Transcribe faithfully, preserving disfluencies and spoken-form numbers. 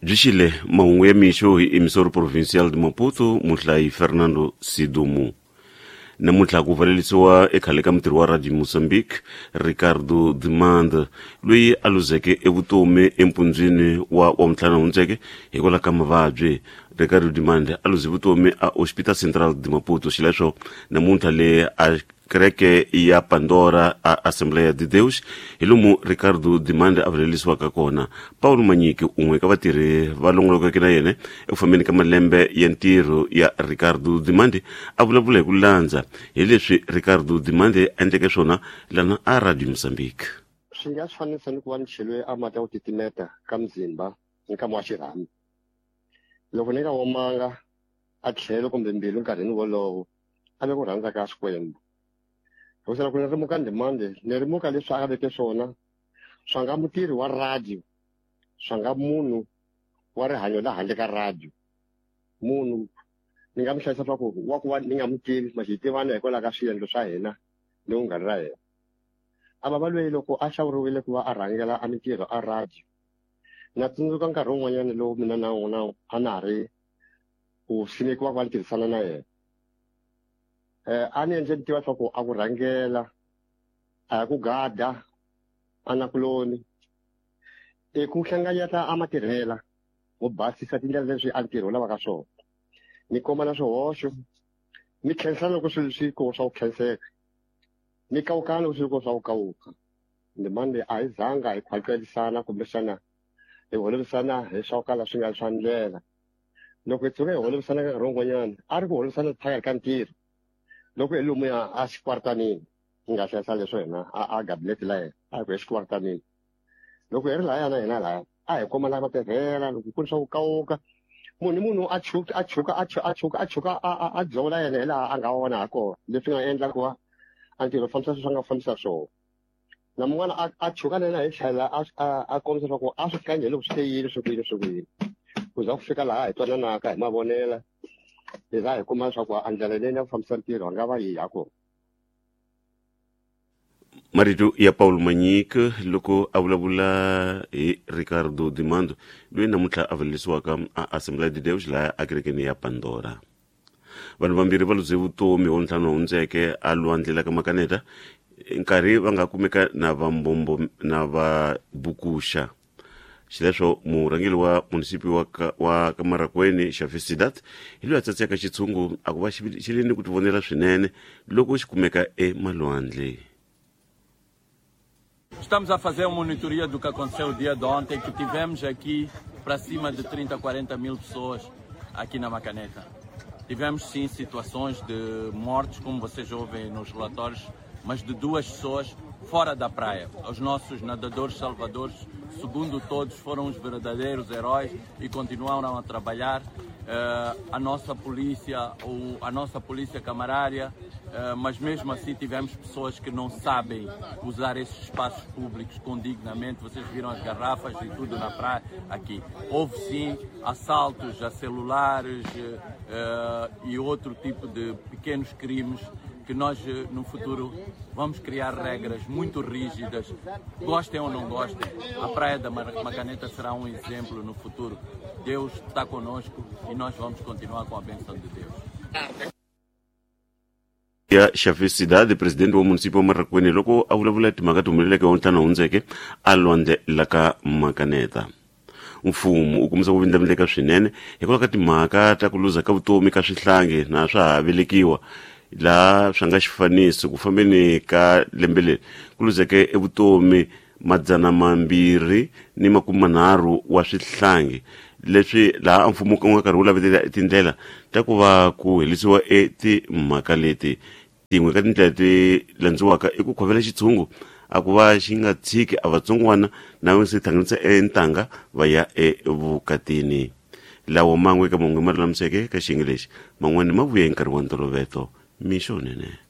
Byi xile mahungu ya mixo hi Emissor Provincial de Maputo, muhlayi Fernando Sidumu. Namuntlha ku valelisiwa ekhale ka mutirhi wa Radio Mozambique Ricardo Dimande, loyi a luzeke evutomi empundzwini wa wa ntlhanu hundzeke hikwalaho ka mavabyi. Ricardo Dimande a luze vutomi a Hospital Central de Maputo. Xileswo namuntlha le a kereke ya Pandora a Assembleia de Deus hi lomu Ricardo Dimande a valelisiwaka kona. Paulo Manyiki, un'we ka vatirhi va longolokeke na yena eku fambeni ka malembe ya ntirho ya Ricardo Dimande, a vulavula hi ku landza hi leswi Ricardo Dimande a endleke swona lana a Radio Mozambique. Swi nga swi fanisa ni ku va ni cheliwe a mati ya ku titimeta ka muzimba nkama wa xirhami. Loko ni nga omanga a tlhelo kumbe mbilu nkarhini wolowo, a ve ku rhandza ka Xikwembu. Hikuva loko ni rimuka Ndimande, ni rimuka leswi a veke swona swa nga mutirhi wa radio, swa nga munhu wa rihanyo la handle ka radio. Munhu ni nga mi hlayisa swa ku wa ku va ni nga mu tivi, ma xi tivana hikwalaho ka swiendlo swa hina ni vunghana ra hina. A va va lweyi loko a hlawuriwile ku va a rhangela a mintirho a radio. Na tsundzuka nkarhi wun'wanyana lowu mina na n'wina a na ha ri ku simekiwa ku va ni tirhisana na yena. Eh, a ni endle ni tiva swa ku a ku rhangela, a hi ku gada a nakuloni, i ku hlanganyeta a matirhela wo basisa tindlela leswi a ntirho wu lavaka swona, ni komba na swihoxo, ni khensana loko swilo swi ko swa ku khenseka, ni kawukana loko swi ko swa ku kawuka. Ndimande a hi zanga hi khwaqelisana kumbexana hi holovisana hi swa ku kala swi nga swa ndlela. Loko hi tshuka hi holovisana nkarhi wun'wanyana, a ri ku holovisana phakathi ka ntirho. Loko hi lomuya a xikwartanini, ni nga hlayisa leswo hina a a gabinete la yena, a hi ku exikwartanini. Loko hi ri lahaya na hina lahaya, a hi komana matirhela, loko ku ri swa ku kawuka, munhu ni munhu a chuka, a chuka, a chuka, a chuka, a chuka, a, a, a dzola yena hi laha a nga vona ha kona, leswi nga endla ku va a ntirho fambisa sweswi a nga fambisa swona. Na mun'wana a, a chuka na yena hi tlhela a, a, a kombisa leswaku a swi kanyi hi loko swi te yini, swi ku yini, swi ku yini. Ku za ku fika laha hi twananaka hi mavonela, hi za hi kuma leswaku a ndlela leyi ya ku fambisa ntirho a nga va yi ha kona. Marito ya Paulo Manyika loko a vulavula hi Ricardo Dimando, loyi namuntlha a valelisiwaka a Assembleia de Deus laha a kerekeni ya Pandora. Vanhu vambirhi va luze vutomi wa ntlhanu hundzeke a lwandle la ka Makaneta, nkarhi va nga kumeka na va mbombo na va bukuxa. Xileswo murhangeri wa munisipi wa ka, wa Kamarakwene Xavi Sidat hi loyi a tsatseka xitshungu a ku va xi le ni ku tivonela swinene loko xi kumeka emalwandle. Estamos a fazer uma monitoria do que aconteceu o dia de ontem, que tivemos aqui para cima de trinta, quarenta mil pessoas aqui na Macaneta. Tivemos sim situações de mortes, como vocês ouvem nos relatórios, mas de duas pessoas fora da praia. Os nossos nadadores salvadores, segundo todos, foram os verdadeiros heróis e continuaram a trabalhar. Uh, a nossa polícia, ou a nossa polícia camarária, uh, mas mesmo assim tivemos pessoas que não sabem usar esses espaços públicos condignamente. Vocês viram as garrafas e tudo na praia aqui. Houve sim assaltos a celulares uh, e outro tipo de pequenos crimes que nós no futuro vamos criar regras muito rígidas, gostem ou não gostem, a Praia da Macaneta será um exemplo no futuro. Deus está conosco e nós vamos continuar com a bênção de Deus. Ya Xavi Cidade, presidente wa município wa Marracuene, loko a vulavula timhaka ti humeleleke wa ntlhanu hundzeke a lwandle la ka Macaneta. Mfumo wu kombisa ku vindlavindleka swinene hikwalaho ka timhaka ta ku luza ka vutomi ka swihlangi na swa ha velekiwa laha swi nga xifaniso ku fambeni ka lembe leri ku luzeke evutomi madzana mambirhi ni makume manharhu wa swihlangi leswi laha mfumo wu nga karhi wu lavetela tindlela ta ku va ku herisiwa etimhaka leti. Tin'we ka tindlela ti landziwaka i ku khovela xitshungu a ku va xi nga tshiki a vatsongwana na va se hlanganisa entanga va ya evukatini. Lawa man'we eka mahungu ma lulamiseke ka xiyenge lexi, man'wana ma vuya hi nkarhi wa ntolovelo. Mixo nene.